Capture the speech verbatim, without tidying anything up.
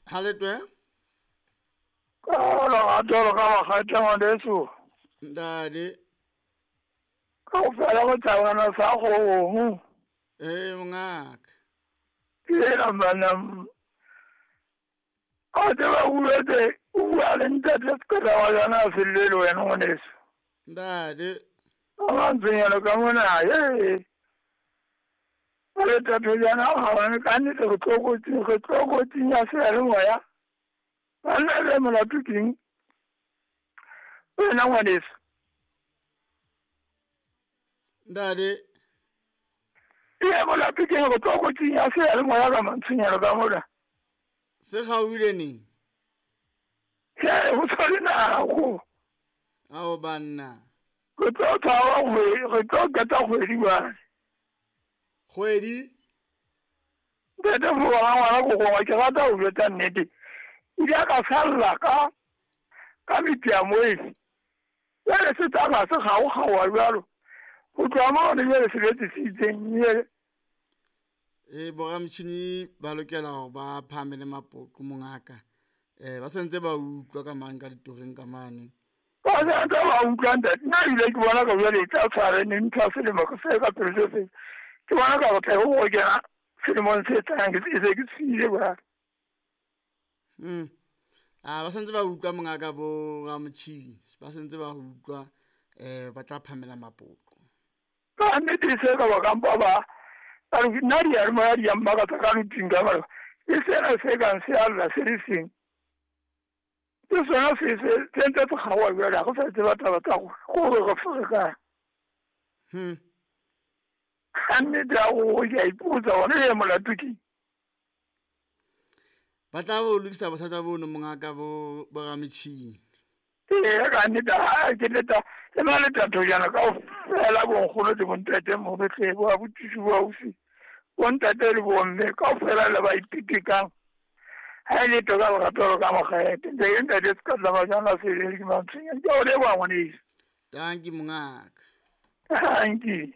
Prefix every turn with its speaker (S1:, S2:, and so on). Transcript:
S1: Ha le twe?
S2: Ka lerato ka makgethe ngwaneso.
S1: Ntate.
S2: Kaofela go thabana sa kgomo.
S1: Ee mongaka.
S2: Ke ena bana. A tseba o buetse o bua le ntate se ka wa yona a se llele wena ngwaneso.
S1: Ntate.
S2: A mantshwenyana ka mona ee. Le tatho jana ga ka nnete re tlokotsing re tlokotsing ya seyalemoya. Banna le molato keng? Wena ngwaneso.
S1: Ntate.
S2: Ee molato keng re tlokotsing ya seyalemoya ka mantshwenyana ka mona?
S1: Se kgaohile neng?
S2: Ee go tshware nako.
S1: Ao banna.
S2: Re tlo tshwara kgwedi, re tlo qeta kgwedi jwale.
S1: Kgwedi?
S2: Ntate Fobang ngwana ko gongwe ke rata ho jwetsa nnete. Ile ka salla ka ka metiamoe. Jwale se tsamaya se kgaokgaoha jwalo. Ho tloha moo jwale se betse se itseng jwale.
S1: Ee boramotjhini ba lokela hore ba phahame le mapoqo mongaka. Eh ba sentse ba utlwa ka mang ka ditoreng ka mane.
S2: Ba sentse ba utlwa ntate. Nna ebile ke bona ka jwale e tla tshwara neng ntho ya selemo se ka pele se se. Ke bona ka batla ho kena selemong se tlang ke se ke tsile ba.
S1: Mm. Ah ba sentse ba utlwa mongaka bo ramotjhini. Ba sentse ba utlwa eh ba tla phamela mapoqo.
S2: Ka nnete se ka ba kampa ba ba nna di a mo di a maka ka luting ka ba. E sena se kang se alla se le seng. Ke sona se se se ntse se kgaoha jwale ha go sa tseba taba tsa go gore go fere.
S1: Hmm.
S2: Ka nnete a o ke a ipotsa hore e molato ke.
S1: Ba tla bo lokisa bothata bono mongaka bo boramotjhini.
S2: Ee ka nnete ha ke leta le ba le tatho jana kaofela bo nkgono le bontate mo betle bo abuti bo ausi. Bontate le bomme kaofela le ba ipitikang. Ha e le to ka lerato ka makgethe. Ntate ntate se ka tla ba jana se le ke mantshwenya. Ke o leboha ngwaneso.
S1: Dankie mongaka.
S2: Dankie.